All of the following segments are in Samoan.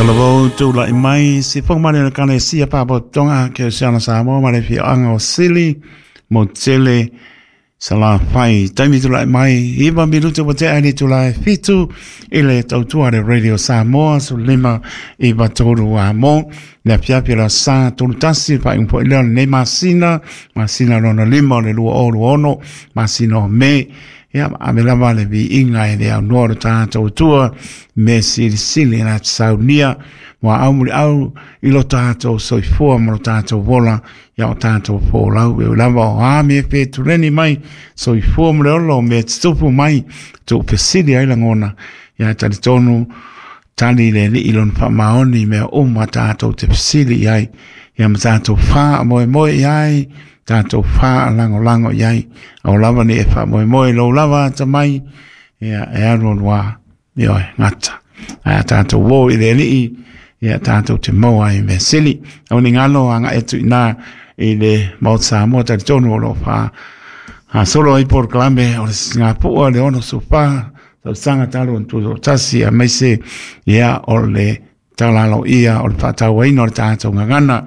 Talavou tula'i mai sifoga ma le Ekalesia Faalapotopotoga Kerisiano Samoa ma le afioaga o Sili Motele Salafai. Taimi tula'i mai 9 minuta ua tea i le itula e 7 i le tautua a le Radio Samoa 15 9 3 amo le afiafi o le aso Sa 31 faaiuga foi lea o lenei masina, masina lona 5 o le 2026, masina o Me. Ia, ave lava le viiga e le aunoa o le tatou Atua, me silisili la te saunia, mua au muliau i lo tatou soifua ma lo tatou ola, ia o tatou folau e lava o a me fetuleni mai, soifua ma le ola o mea tutupu mai, tuufesili ai lagona, ia talitonu tali le Alii lona faamaoni i mea uma tatou te fesili i ai, ia ma tatou faamoemoe i ai, tatou faalagolago i ai. Aua lava ne i e faamoemoe i lou lava atamai, ia e alu alu lava, ioe, gata. Ae a tatou o i le Alii, ia tatou te maua ai mea sili. Aua ne i galo agai atu i ina i le Maota Samoa, talitonu o lo o faagasolo ai polokalame o le Singapua le 64 tausaga talu ona tutoatasi, aemaise ia o le tala aloaia o le faatauaina o le tatou gagana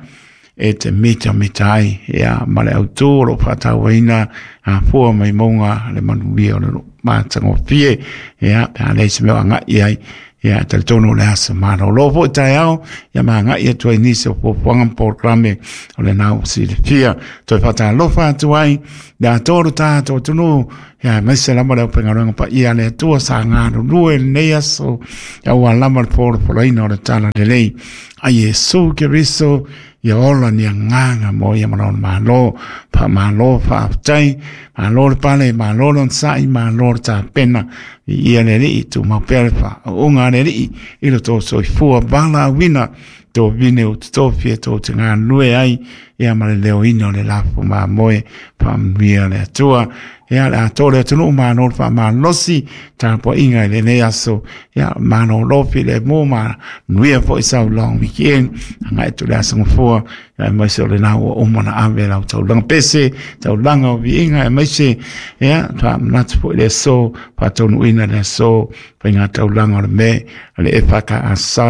e te mitamita ai ia ma le autū o lo o faatauaina afua mai mauga le manuia o le matagofie ia pe a leai se mea o agai ai ia talitonu o le aso malolo foi taeao ia ma agai atu ai nisi o fuafuaga ma polokalame o lena ua silafia. Toe faatalofa atu ai le atoa o le tatou atunuu ia aemaise lava le aufaigaluega paia a le Atua sa galulue i lenei aso aua lava le folafolaina o le talalelei a Iesu Keriso. Ia ola ni agaga mo ia ma lona Malo. Faamalo, faafetai, malo le pale, malo le onosai, malo le tapena. Viia le Alii, tumau pea le faauuga a le Alii i lo tō soifua valaauina, tō vine o totofi e tō te galulue ai, ia ma le leoina o le lafo mamoe, faamanuia le Atua. Ia le atoa o le atunuu, malo le faamalosi, tapuaiga i lenei aso, ia malolo filemu ma manuia foi sau long weekend, agai atu i le aso Gafua, ia aemaise o lena ua uma ona ave lau taulaga pese, taulaga o viiga, aemaise ia faamanatu foi le aso, faataunuuina le aso, faiga taulaga o le me a le EFKS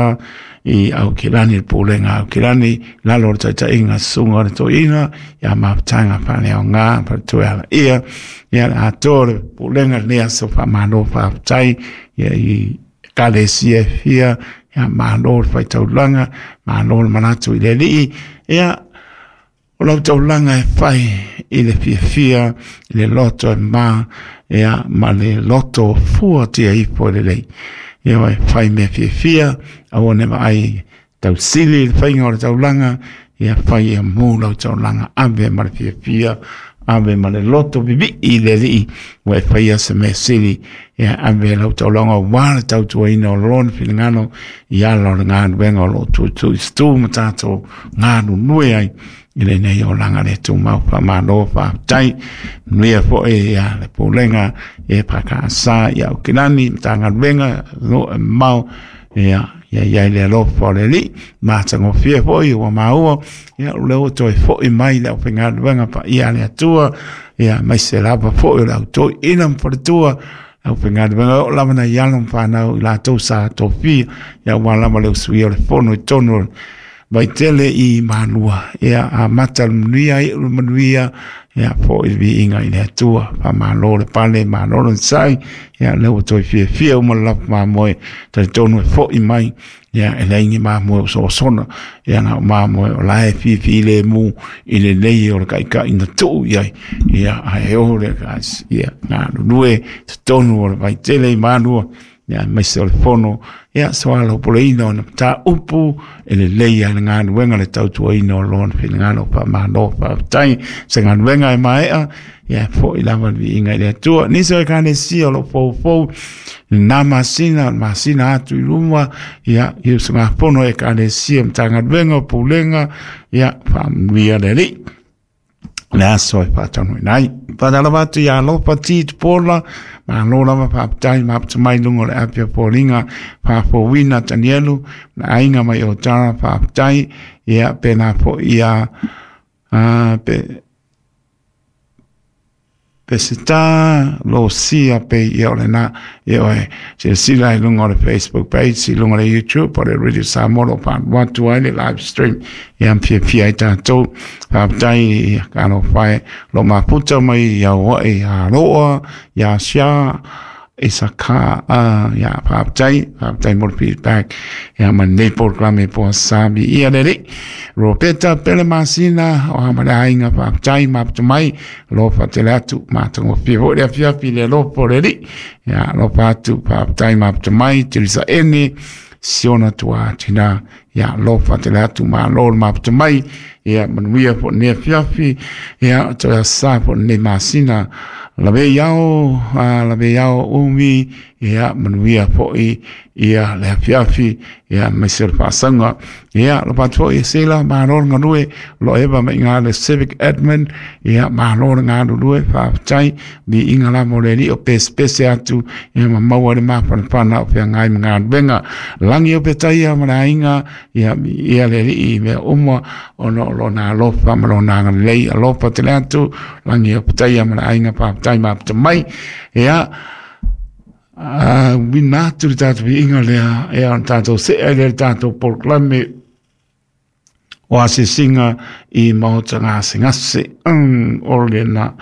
i Aukilani, le Pulega a Aukilani, lalo o le taitaiga susuga o le toeaina ia Mafutaga Faaleaoga Faletoealaia, ia le atoa o le Pulega lenei aso faamalo faafetai ia i Ekalesia e fia, ia malo le faitaulaga, malo le manatu i le Alii, ia o lau taulaga e fai i le fiafia, i le loto e ma, ia, ma le loto fua tia ifo e lelei. Ia e fai mea fiafia, aua ne vaai tausili i le faiga o le taulaga, ia fai ia mu lau taulaga, ave ma le fiafia, ave ma le loto vivii i le Alii, ua e faia se mea sili, ia ave lau taulaga aua le tautuaina o lona finagalo i ala o le galuega o lo o tuituistu ma tatou galulue ai i lenei olaga le tumau. Faamalo, faafetai. Manuia foi ia le Pulega e EFKS i Aukilani, Matagaluega lo e mamao, ia ia i ai le alofa o le Alii, matagofie foi ua maua, ia o lea ua toe foi mai le aufaigaluega paia a le Atua, ia aemaise lava foi o le au toeaina ma faletua, aufaigaluega oo lava nai alo ma fanau i latou sa tofia, ia aua lava le usuia o le fono i totonu o le Vaitele i Malua, ia amata le manuia, iu le manuia, ia foi le viiga i le Atua. Faamalo le pale, malo le onosai, ia lea ua toe fiafia uma le lafu mamoe, talitonu e foi mai, ia e leai ni mamoe o soosona, ia na o mamoe o la e fifilemu i le lelei o le kaikai na tuu i ai, ia ae o le ia galulue totonu o le Vaitele i Malua, ia aemaise o le fono, ia soalaupuleina o na mataupu e lelei ai le galuega le tautuaina o lona finagalo. Faamalo, faafetai. Se galuega e maea, ia foi lava le viiga i le Atua. Nisi o Ekalesia o lo o foufou lena masina, le masina atu i luma, ia i usugafono a Ekalesia, Matagaluega o Pulega, ia faamanuia le Alii le aso e faataunuuina ai. Faatalofa atu ia Alofa T. Tupuola, malo lava faafetai maputa mai luga o le api o foliga faafouina Tanielu, le aiga mai o Tara, faafetai, ia pēlā foi ia pe. Peseta Losia pe ia o lena ia oe silasila i luga o le Facebook page, i luga o le YouTube o le Radio Samoa o lo o faaluatu ai le live stream ia ma fiafia ai tatou. Faafetai ia talofa e o lo o mafuta mai i Aua'i ia Roa, ia Sia, Isaka, ia faafetai, faafetai mo le feedback ia ma lenei polokalame po Sami ia le alii. Ropeta Pele Masina o a ma le aiga, faafetai mafuta mai, alofa tele atu, matagofie foi le afiafi i le alofa o le alii. Ia alofa atu, faafetai mafuta mai, Teresa Ene, Siona tua tina, ia alofa tele atu, malo le mafuta mai, ia manuia foi lenei afiafi, ia toe asa foi lenei masina, lave i ao, lave i ao umi, ia manuia foi ia le afiafi, ia aemaise o le faasauga. Ia alofa atu foi e Sela, malo le galue, o lo o eva mai i ina le Civic Admin, ia malo le galulue, faafetai, viiga lava o le Alii o pesepese atu, ia ma maua le mafanafana o feagai ma galuega. Lagi o Petaia ma le aiga, ia viia le Alii i mea uma, ona o lona alofa ma lona agalelei, alofa tele atu, Lagi o Petaia ma le aiga, faafetai mafuta mai. Ia, uiina atu le tatou viiga lea, ia ona tatou see ai lea i le tatou polokalame o asiasiga i maota gasegase. O lena.